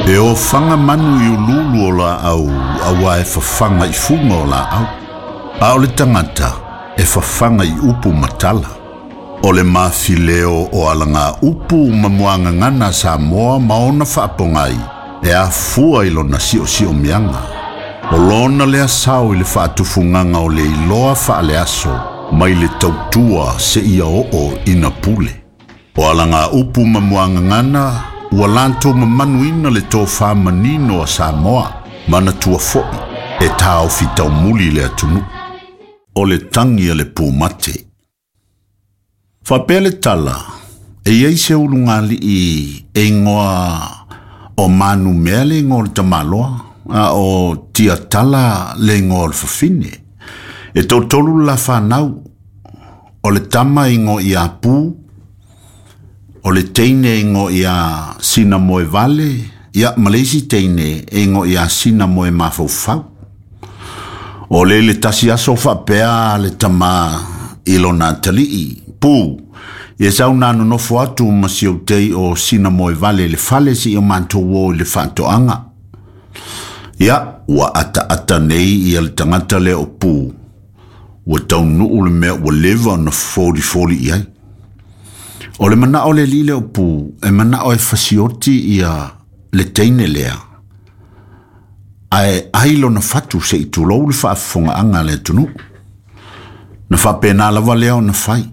E ofaga manu i uluulu o laau auā e fafaga i fuga o laau, a o le tagata e fafaga i upu ma tala. O le mafileo o alagaupu ma muagagana a Samoa ma ona faapogai e afua i lona siosiomiaga. O lona lea sao i le faatufugaga o le iloa faaleaso mai le tautua seia oo ina pule. O alagaupu ma muagagana ua latou mamanuina le tofa manino a Samoa, manatua foi e taofi taumuli le atunuu. O le tagi a le pumate. Faapea le tala, e i ai se ulugalii e igoa o Manumea le igoa o le tamaloa, a o Tiatala le igoa o le fafine. E toatolu le la fanau, o le tama e igoa ia Pu, o le teine e igoa ia Sinamoevale, ia ma le isi teine e igoa ia Sinamoemafaufau. O le le tasi aso faapea le tama i lona atalii, Pu, ia sau na nonofo atu ma si ou tei o Sinamoevale i le fale seia matou o i le faatoaga. Ia, ua ataata nei ia le tagata lea o Pu, ua taunuu le mea ua leva ona folifoli i ai. O le manao o le alii lea o Pu, e manao e fasioti ia le teine lea, ae ai lona fatu se i tulou le faafofogaaga a le atunuu. Na faapena lava lea ona fai.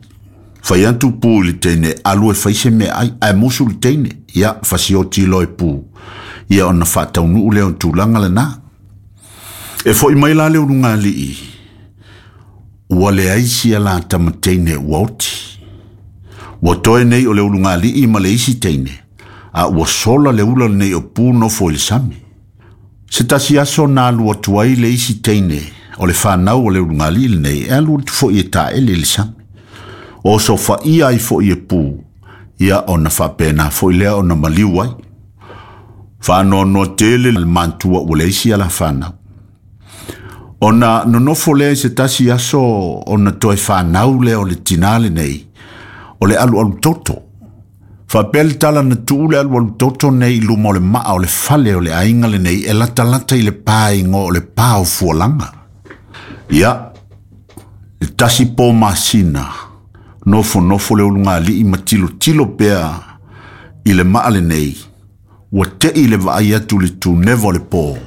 Fai atu Pu i le teine, alu e fai se meaai, ae musu le teine, ia fasioti loa e Pu, ia ona faataunuu lea o le tulaga lena. E foi mai la le ulugalii, ua leai sia la tama teine ua oti. Ua toe nei o le ulugalii ma le isi teine, a ua sola le ula lenei o Pu nofo i le sami. Se tasi aso na alu atu ai le isi teine o le fanau o le ulugalii lenei e alu atu foi e taele i le sami. Osofaia ai foi e Pu, ia ona faapena foi lea ona maliu ai. Faanoanoa tele le matua ua leai sia la fanau. Ona nonofo lea i se tasi aso ona toe fanau lea o le tinā lenei, o le alualu toto. Faapea le tala na tuu le alualu toto nei i luma o le maa o le fale o le aiga lenei e latalata i le pa igoa o le pa o Fualaga. Ia, le tasi po masina, nofonofo le ulugalii ma tilotilo pea i le maa lenei, ua tei le vaai atu i le tuneva o le po,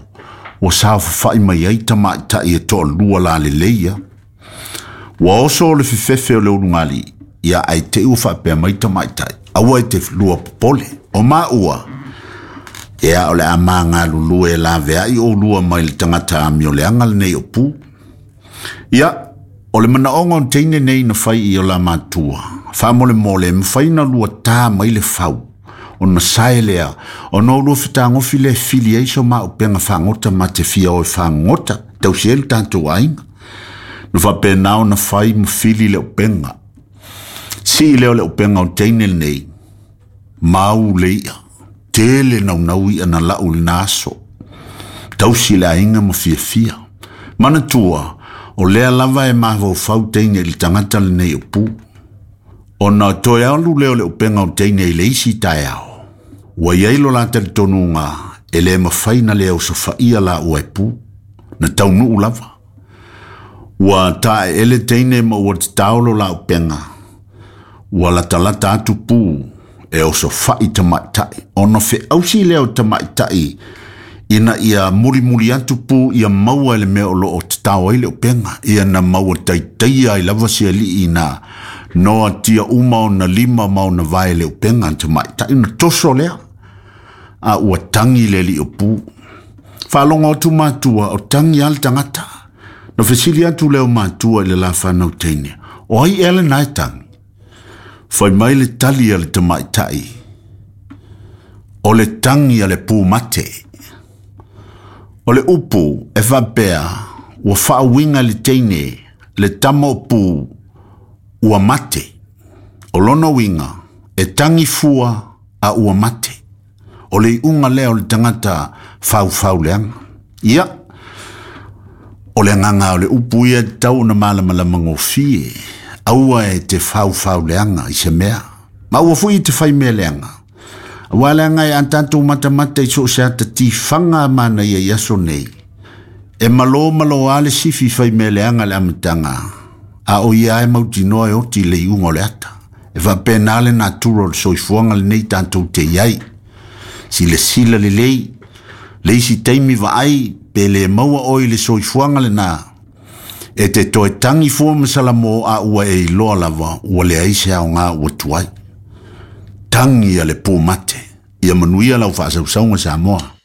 ua saofafai mai ai tamaitai e toalua lalelei ia. Ua oso le fefefe o le ulugalii, ia ae te i ua faapea mai tamaitai, aua e te lua popole, o maua, ia o le a magalulue e laveai oulua mai le tagata amioleaga lenei o Pu. Ia, o le manaoga o le teine nei na fai i o la matua, faamolemole e mafai ona lua ta mai le fau, ona sae lea, ona o lua fetagofi lea e fili ai so maupega fagota ma te fia o e fagota, tausi ai le tatou aiga. Na faapena ona fai ma fili le upega. Sii lea o le upega o le teine lenei, mau le i'a, tele naunau i'a na lau i lena aso. Tausi le aiga ma fiafia. Manatua, o lea lava e mafaufau teine i le tagata lenei o Pu. Ona toe alu lea o le upega o teine i le isi taeao, ua i ai lo la talitonuga e le mafai na le osofaia laua e Pu. Na taunuu lava. Ua taeele teine ma ua tatao lo la upega, ua latalata atu Pu e osofai tamaitai. Ona feausi lea o tamaitai ina ia mulimuli atu Pu ia maua e le mea o lo o tatao ai le upega, ia na maua taitaia ai lava se alii na noatia uma ona lima ma ona vae le upega a tamaitai. Ona toso lea, a ua tagi le alii o Pu. Faalogo atu matua, o tagi lava le tagata. Na fesili atu lea o matua i le la fanau teine, o ai ea lena e tagi? Fai mai le tali a le tamaitai, o le tagi a le pumate. O le upu e faapea, ua faauiga le teine, le tama o Pu, ua mate. O lona uiga, e tagi fua a ua mate. O le iuga lea o le tagata faufau leaga. Ia, o le agaga o le upu ia e tatau ona malamalama gofie, aua e te faufau leaga i se mea. Ma aua foi e te fai mea leaga. Auā leaga e a tatou matamata i so o se ata tifaga a manaia i aso nei, e malo malo lava le sifi fai mea leaga i le amataga, a o ia lava e mautinoa e oti i le iuga o le ata. E faapena le natura o le soifuaga lenei tatou te i ai. Silasila lelei, le isi taimi vaai pe le maua oe i le soifuaga lena, e te toe tagi fua ma salamo a ua e iloa lava ua leai se aoga ua tuai. Tagi a le pumate. Ia manuia lau faasausauga Samoa.